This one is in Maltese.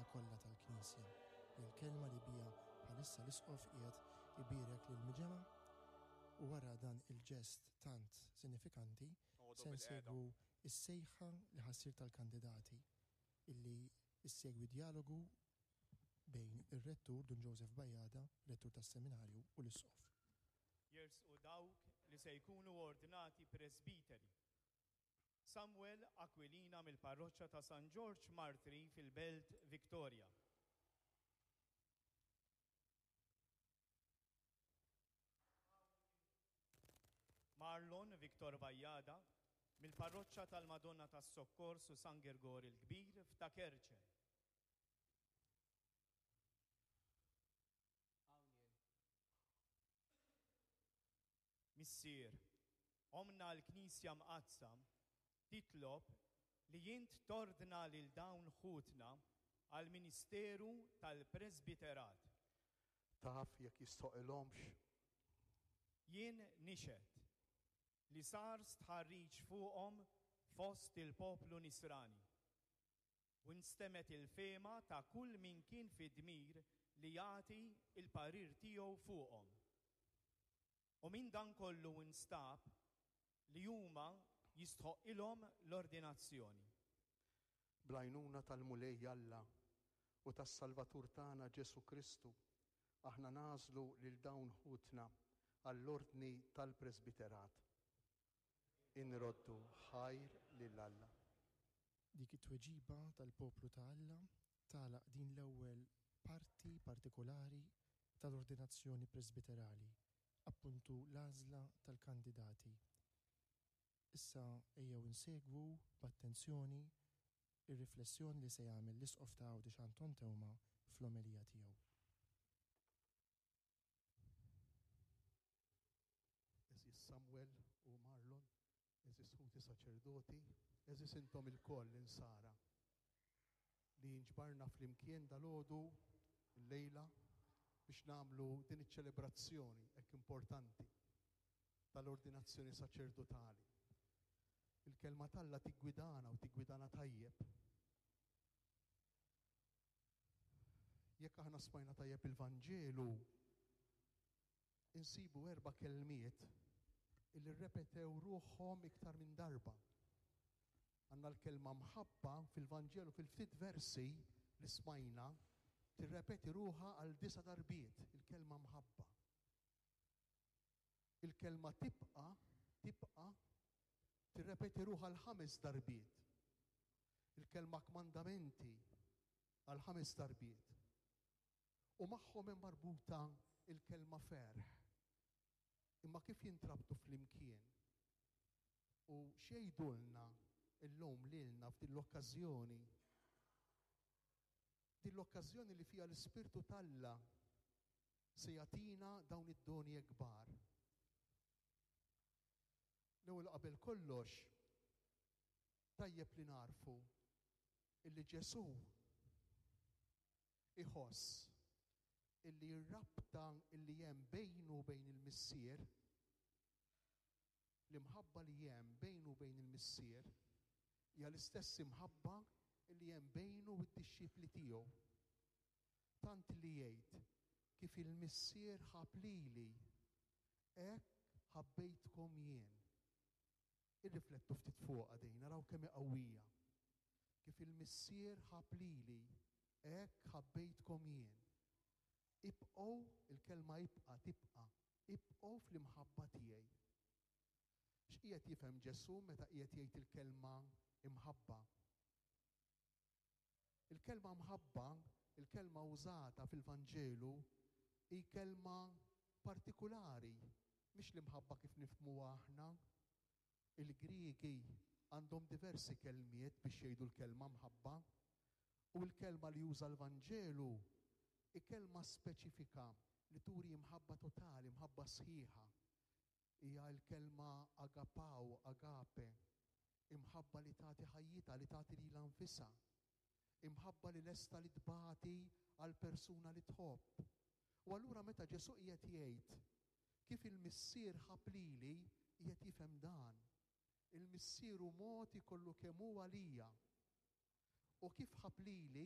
il-ħajja kollha tal-Knisja. Hija l-kelma li biha bħalissa l-Isqof qiegħed ibierek lill-miġemgħa u wara dan il-ġest tant sinifikanti Noqogħdu se bilqiegħda. nsegwu s-sejħa li ħa ssir tal-kandidati illi ssegwi djalogu bejn ir-Rettur Dun Joseph Bajada, Rettur tas-Seminarju, u l-Isqof. Jersqu dawk li se jkunu ordnati presbiteri. Samuel Aquilina mill-Parroċċa ta' San Ġorġ Martri fil-Belt Victoria. Marlon Victor Bajada mill-Parroċċa tal-Madonna tas-Sokkors u San Girgor il-Kbir f'Ta' Kerċem. Hawn jien. Missier, Ommna l-Knisja Mqaddsa titlob li int tordna lil dawn ħutna għall-ministeru tal-presbiterat. Taf jekk jistħoqilhomx? Jien nixhed li sar stħarriġ fuqhom fost il-poplu Nisrani, u nstemgħet il-fehma ta' kull min kien fid-dmir li jagħti l-parir tiegħu fuqhom. U minn dan kollu nstab li huma jistħoqqilhom l-ordinazzjoni. Bl-għajnuna tal-Mulej Alla u tas-Salvatur tagħna Ġesù Kristu, aħna nagħżlu lil dawn ħutna għall-ordni tal-presbiterat. Inroddu ħajr lil Alla. Dik it-tweġiba tal-poplu ta' Alla tagħlaq din l-ewwel parti partikolari tal-ordinazzjoni presbiterali, appuntu l-għażla tal-kandidati. Issa ejjew insegwu b'attenzjoni r-riflessjoni li se jagħmel l-Isqof ta' Għawdex Anton Teuma fl-omelija tiegħu. Għeżież Samuel u Marlon, għeżież ħuti saċerdoti, għeżież intom ilkoll insara li nġbarna flimkien dalgħodu llejla biex nagħmlu din iċ-ċelebrazzjoni hekk importanti tal-ordinazzjoni saċerdotali. Il-kelma t'Alla tiggwidana u tiggwidana tajjeb. Jekk aħna smajna tajjeb il-Vanġelu, insibu erba' kelmiet illi rrepetew ruħhom iktar minn darba. Għandna l-kelma mħabba fil-Vanġelu fil-ftit versi li smajna tirrepeti ruħha għal disa' darbiet il-kelma mħabba. Il-kelma tibqa' tibqa' tirrepeti ruħha għal ħames darbiet. Il-kelma kmandamenti għal ħames darbiet. U magħhom hemm marbuta l-kelma ferħ. Imma kif jintrabtu flimkien? U x'jgħidulna llum lilna f'din l-okkażjoni? Din l-okkażjoni li fiha l-Ispirtu t'Alla se jagħtina dawn id-doni hekk kbar. L-ewwel qabel kollox, tajjeb li nagħrfu illi Ġesù Iħoss illi r-rabta illi hemm bejnu u bejn il-Missier, l-imħabba li hemm bejnu u bejn il-Missier, hija l-istess imħabba illi hemm bejnu u d-dixxipli tiegħu. Tant li jgħid, Kif il-Missier ħabb lili, hekk ħabbejtkom jien. Irriflettu ftit fuqha din, araw kemm hi qawwija. Kif il-Missier ħabb lili, hekk ħabbejtkom jien. Ibqgħu, il-kelma ibqa' tibqa', ibqgħu fl-imħabba tiegħi. X'qiegħed jifhem Ġesù meta qiegħed jgħid il-kelma imħabba? Il-kelma mħabba, il-kelma użata fil-Vanġelu, hi kelma partikulari, mhix l-imħabba kif nifhmuha aħna. Il-Griegi għandhom diversi kelmiet biex jgħidu l-kelma mħabba, u l-kelma li juża l-Vanġelu hi kelma speċifika li turi imħabba totali, imħabba sħiħa. Hija l-kelma agapao, agape, imħabba li tagħti ħajjitha, li tagħti lilha nfisha. Imħabba li lesta li tbati għal persuna li tħobb. U allura meta Ġesù qiegħed jgħid, Kif il-Missier ħabb lili, qiegħed jifhem dan. Il-Missier hu mogħti kollu kemm hu għalija. U kif ħabb lili,